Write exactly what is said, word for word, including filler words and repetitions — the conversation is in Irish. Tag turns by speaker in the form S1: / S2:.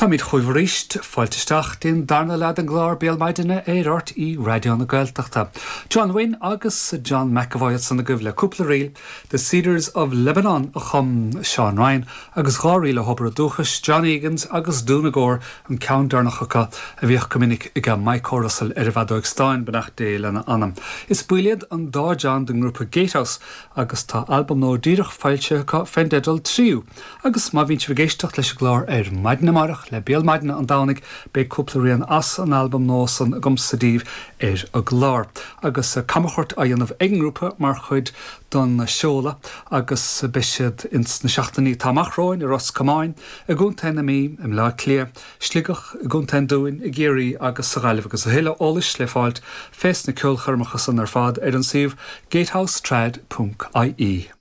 S1: Táimid chugaibh arís, fáilte isteach don darna leath den gclár Béal Maidine ar RTÉ Raidió na Gaeltachta. John Wynne agus John McAvoy ansan agaibh le cúpla ríl, The Cedars of Lebanon a chum Seán Ryan agus dhá ríl le hobair dúchais John Egan's agus Doonagore an ceann deireanach acu a bhíodh go minic ag Mike Russell ar an bhfeadóg stáin beannacht Dé lena anam. Is baill iad an dá John den ngrúpa Gatehouse agus tá albam nua díreach foilsithe acu fén dteideal Tríú, agus má bhíonn sibh ag éisteacht leis an gclár ar maidin amárach le Béal Maidine an Domhnaigh beidh cúpla rian as an albam nua san agamsa daoibh ar an gclár. agus camchuairt á dhéanamh ag an ngrúpa mar chuid don seoladh agus beidh siad ins na seachtainí atá amach romhainn i Ros Comáin, i gContae na Mí, i mBleá Cliath, Sligeach, i gContae an Dúin, i gCiarraí agus sa Ghaillimh agus a thuilleadh eolais le fáilt fés na ceolchoirmeacha san ar fad ar an suíomh gatehousetrad.ie.